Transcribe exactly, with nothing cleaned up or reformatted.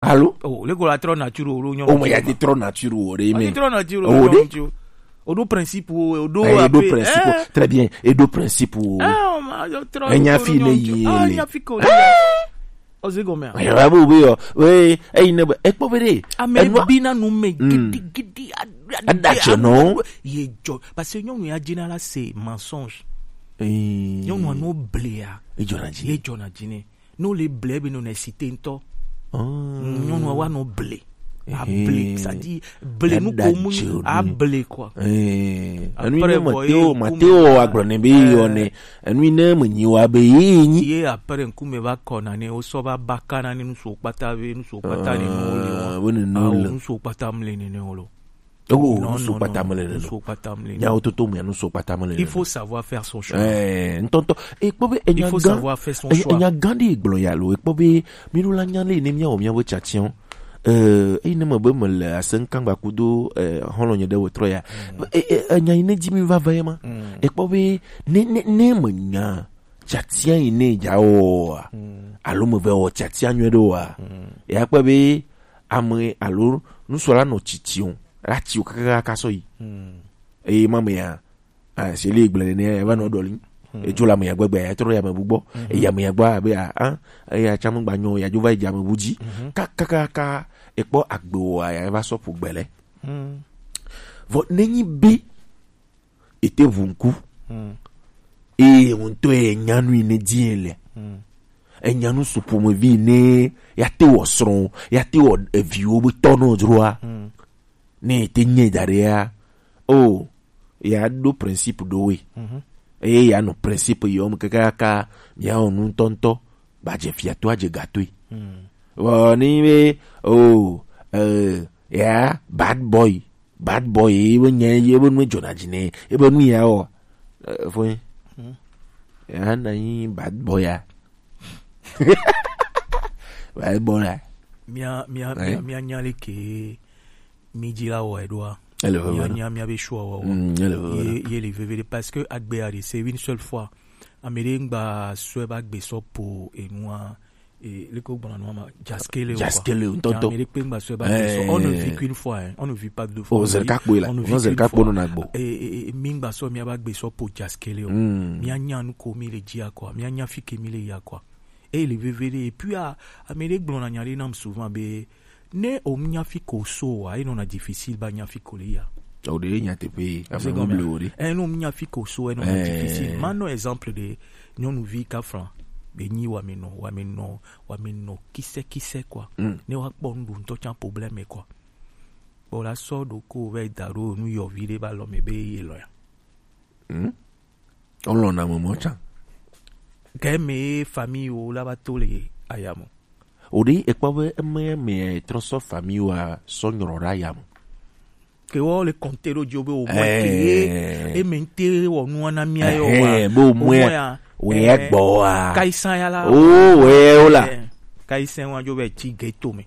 Allô? Oh, le ko la trop nature o lo nyo. O ma ya ti trop nature o de Ti me. Trop nature Oh, o de? Nyo. O do principe o, o do Eh, e do ape. principe. Eh. Très bien. E do principe. Ah, o ma yo trop. Enya Nyo, fi ne nyo. yi Ah, le. Enya fi ko. O se go me. Ayo, abu bi yo. We, e ne ba. E po be de. A me Enu- bi na nu me Mm. gidi gidi. Ada che no. Ye jo. Parce que nyɔnu ya dina la c'est mensonge. Eh. Nyɔnu no blea. E jona ji. Ye jona dine. No le ble be no na cité ntɔ. Oh. Nyɔnu wa no ble. A Eh. ble, c'est-à-dire ble nu Ada ko mu che o a ni. Ble quoi. Eh, Après, enu ne bon, Mateo, e Mateo kume- agblɔ ne be yɔ ne. Enu ne me nyi wa be yi nyi. Ye après nkume va kɔ na ne o sɔ va ba ka na ne nusu kpata ve nusu kpata ne no le Ah, wa. wo ne no Ah, le. Nusu kpata mle ne ne o lo. Oh, Non, nusu non, kpata non, me le no. Nusu kpata mle ne. Nya o toto me nusu kpata me le. Il faut savoir faire son choix. Eh, ntɔntɔ. E kpɔ be Il enya faut gan. Savoir faire son Enya, choix. enya gan de gblɔ ya lo. E kpɔ be mi ɖo la nya le ne mia o mia wo chachion. Eh, eyi ne me be me le ase ŋkangba kudo eh hɔlɔ nye ɖe wo trɔ ya. E, e, enya yi ne dzi mi va va ye ma. Mm. E kpɔ be ne ne ne me nya chatia yi ne dza o wa. Mm. Alo me ve o chatia nyuie ɖo wa. Mm. Ya kpɔ be ame alo nusɔla nɔ titi o. La ti o kaka kaka sɔ yi. Mm. Eye ma me ya. Ah, se le gblẽ ne eva nɔ ɖɔli. Edzo le ame ya gbegbe ya trɔ ya me bu gbɔ. Eya me ya gbɔ abe a a eya tsã me gba nyɔ ya dzo va yi dze ame bu dzi. Kakakaka ekpɔ agbe o ya va sɔ ƒo gbe lɛ. Mm. Vɔ nenyi be ete ʋu ŋku. Mm. Eye ŋutɔ ye nya nu yi ne di ye le. Mm. Enya nu su ƒomevi ne ya te wɔ srɔ̃ ya te wɔ eviwo be tɔ nɔ dzroa. Mm. Ne ete nye da ɖe ya o ya ɖo principe ɖo we. Mhm. Eye ya nɔ principe yɔ me kakaka mia wɔ nu ŋutɔŋutɔ ba dze fia to adze ga toe. Mm. Vɔ ni be o eh, ya bad boy bad boy ye be nye ye be nu dzona dzi ne ye be nu ya wɔ eh, fo ye. Mm. Ya na yi bad boy ya. Bad boy ya. Mia mia Ouais. mia mia nya le ke mi dzi la wɔ eɖoa. Ele veve Mia na. Nya Mia mia be choix wa wa. Mm, ele veve na. Ye ye le veve de parce que agbe a de c'est une seule fois. Ame ɖe ŋgba sɔe ba gbe sɔ po enua e le ko gbɔna nua ma jaskele o. Jaskele o, ntɔntɔ. Ame ɖe kpe ŋgba sɔe ba gbe sɔ. On ne vit qu'une fois hein. On ne vit pas deux fois. O zerika kpo la. On ne vit Non qu'une zerika kpo fois. No na gbo. E e e mi ŋgba sɔ mia ba gbe sɔ po jaskele o. Mm. Mia nya nu ko mi le dzia quoi. Mia nya fi ke mi le ya quoi. E le veve de et puis a ame ɖe gblɔna nya ɖe nam souvent be ne o nya fi ko so wa e nɔna difficile ba nya fi ko le ya. O de nya teƒe ame C'est ŋu comme ble o de. Eh non mia fi ko so e nɔna Eh. Difficile. Ma no exemple de nyɔnuvi kafra be nyi wa me nɔ wa me nɔ wa me nɔ kise kise quoi. Mm. Ne wa kpɔ nu ɖo ŋutɔ tsã problème quoi. Kpɔ la sɔ ɖo ko vɛ da ɖo nu yɔvi ɖe ba lɔ me be ye lɔ ya. Mm. Olɔna mɔmɔ tsã. Ke me famille wo la ba to le aya mo. O de ekpɔ be eme me trɔ sɔ famille wa sɔ nyrɔ ɖe aya me. Ke wo le compter ɖo dzi be o mɔ Eh. ke e me te wɔ nu na mia yo wa. Eh, be o mɔ ya. Ya. O ye gbɔ wa. Kaisan ya la. O we o la. Eh, Kaisan wa jo be ti ghetto me.